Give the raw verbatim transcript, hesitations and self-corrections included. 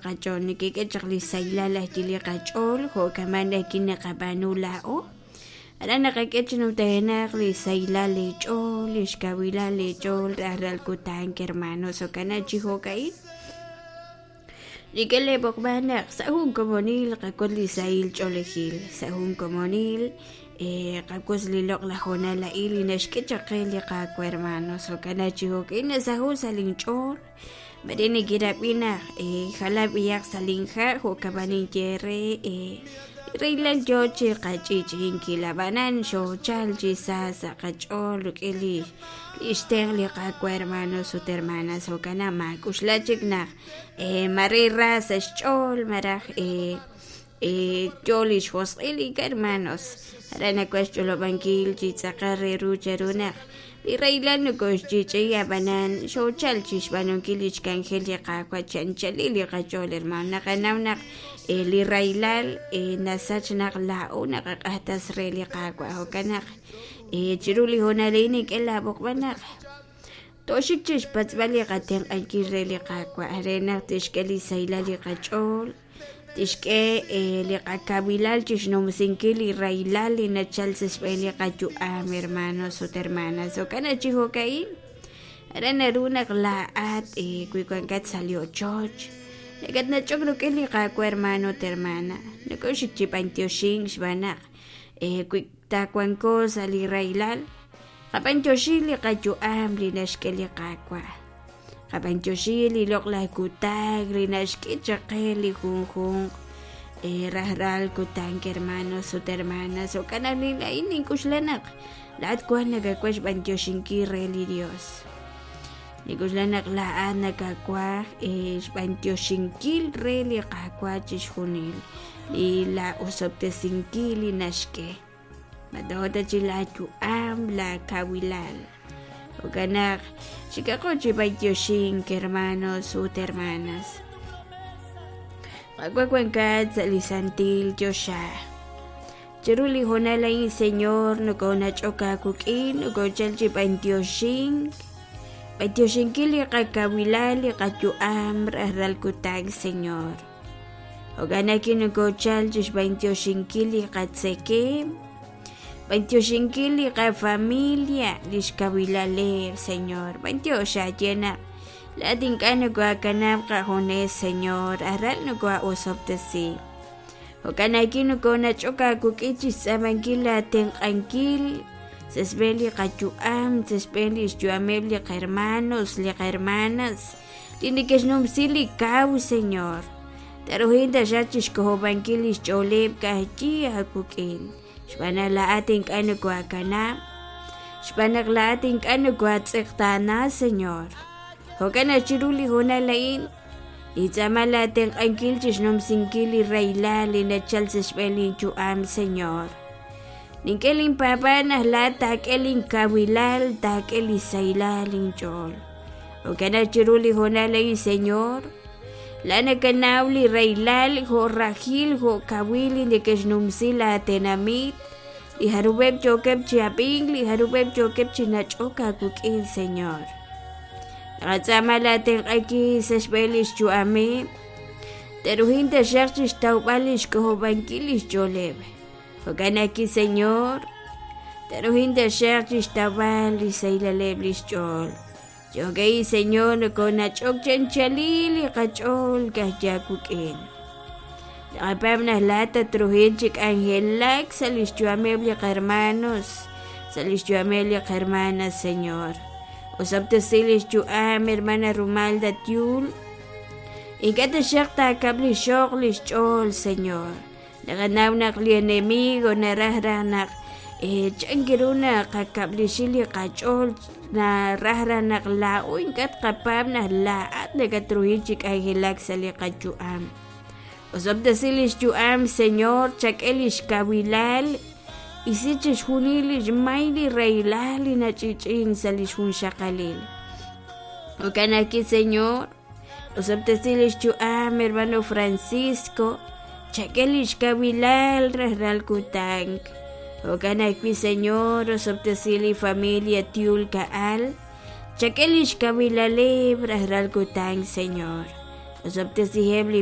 Qach'ool nikik'e chaq li sahilal ajwi' li qach'ool jo'kaman ajwi' naqab'aanu laa'o aran naqak'e chi numtajenaq li sahilal li ch'ool li xkawilal li ch'ool rajlal kutan hermanos jo'kan chi jo'ka'in nik'e leb'oqb'al naq sa' jun komonil qak'ut li sahil ch'oolejil sa' jun komonil qak'ut li loq'laj hoonal a'in li naxk'e chaq qe li Qaawa' hermanos jo'kan chi jo'ka'in nasaho' sa' linch'ool mare nikirab'i naq jalan b'iyaq sa' linha' jo'kaman ninye re rahilal yoo chi qach'i'ch'i'inkil ab'anan xoochal chi sa sa' qach'ool rik'in li xtenq' li Qaawa' hermanos ut hermanas jo'kan naq maak'uxla chik naq mare ra sa' xch'ool malaj yoo li xjosq'il ink'a' hermanos aran nawaj xch'olob'ankil chi tz'aqal re ru cheru naq li rahilal nokoxch'i'ch'i'i ab'anan xoochal chi xb'aanunkil li xk'anjel li Qaawa' chi anchalil li qach'ool hermano naqanaw naq li rahilal nasach naq laa'o naqaq'ajtas re li Qaawa' jo'kan naq chiru li hoonal a'in nink'e laab'oqb'al naq tooxik chi xpatz'b'al li qatenq'ankil re li Qaawa' re naq tixk'e li sahilal li qach'ool tixk'e li qakawilal chi xnumsinkil li rahilal li nachal sa' xb'een li qayu'am hermanos ut hermanas jo'kan chi jo'ka'in aran naru naq laa'at wi wankat sa' li ochoch nakatnach'ok rik'in li Qaawa' hermano ut hermana nakoxik chi b'antioxink xb'aan naq wi taawanko sa' li rahilal qab'antioxi li qayu'am li naxk'e li Qaawa' qab'antioxi li loq'laj kutan li naxk'e chaq qe li junjunq rajlal kutan hermanos ut hermanas jo'kan naq a'in nink'uxla naq laa'at wan nakawaj xb'antioxinkil re li Dios nink'uxla naq laa'at nakawaj xb'antioxinkil re li Qaawa' chixjunil li la osob'tesinkil li naxk'e matoota chi laayu'am laakawilal jo'kan naq xikaqo chi b'antioxink hermanos ut hermanas Qaawa' wankat sa' li santil choxa chiru li hoonal a'in Señor nokonach'ok aawik'in nokochal chi b'antioxink b'antioxinkil li qakawilal li qayu'am rajlal kutan Señor jo'kan naq nokochal chi xb'antioxinkil li qatzekem b'antioxinkil li qafamilia li xkawilaleb' Señor b'antiox aye naq laa'at ink'a' nokoakanab' qajunes Señor aral nokoa'osob'tesi jo'kan naq nokonach'ok aawik'in chi xtz'aamankil laatenq'ankil sa' xb'een li qayu'am sa' xb'een li xyu'ameb' li qahermanos li qahermanas li neke'xnumsi li kaw Señor taruhin taxaq chi xk'ojob'ankil li xch'ooleb' ka'ajwi' aawik'in xb'aan naq laa'at ink'a' nokoakanab' xb'aan naq laa'at ink'a' nokoatz'eqtaana Señor jo'kan naq chiru li hoonal a'in nintz'aama laatenq'ankil chi xnumsinkil li rahilal li nachal sa' xb'een linyu'am Señor nink'e linpaab'aal naq laa'at taak'e linkawilal taak'e li sahilal linch'ool jo'kan naq chiru li hoonal a'in Señor laa'at nakanaw li rahilal jo' rajil jo' kawil li neke'xnumsi laatenamit li jarub'eb' yookeb' chi ab'ink li jarub'eb' yookeb' chi nach'ok aawik'in Señor naqatz'aama laatenq'ankil sa' xb'een li xyu'ameb' te'ruhin taxaq chi xtawb'al li xk'ojob'ankil li xch'ooleb' jo'kan naq Señor te'ruhin taxaq chi xtawb'al li sahilaleb' li xch'ool Jo'ka'in Señor nokonach'ok chi anchalil li qach'ool ka'ajwi' aawik'in naqapaab' naq laa'at tatruhin chi k'anjelak sa' li xyu'ameb' li qahermanos sa' li xyu'ameb' li qahermanas Señor osob'tesi li xyu'am hermana Rumalda Tiul ink'a' taxaq taakab' li xoq li xch'ool Señor naqanaw naq li enemigo naraj raj naq chanki ru naqakab'lixi li qach'ool naraj raj naq laa'o ink'a' tqapaab' naq laa'at nakatruhin chi k'anjelak sa' li qayu'am osob'tesi li xyu'am Señor chak'e li xkawilal isi chixjunil li xmay li rahilal li nach'i'ch'i'in sa' li xjunxaqalil jo'kan ajwi' Señor osob'tesi li xyu'am hermano Francisco chak'e li xkawilal rajlal kutan jo'kan ajwi' Señor osob'tesi li familia Tiul Ka'al chak'e li xkawilaleb' rajlal kutan Señor Osob'tesiheb' li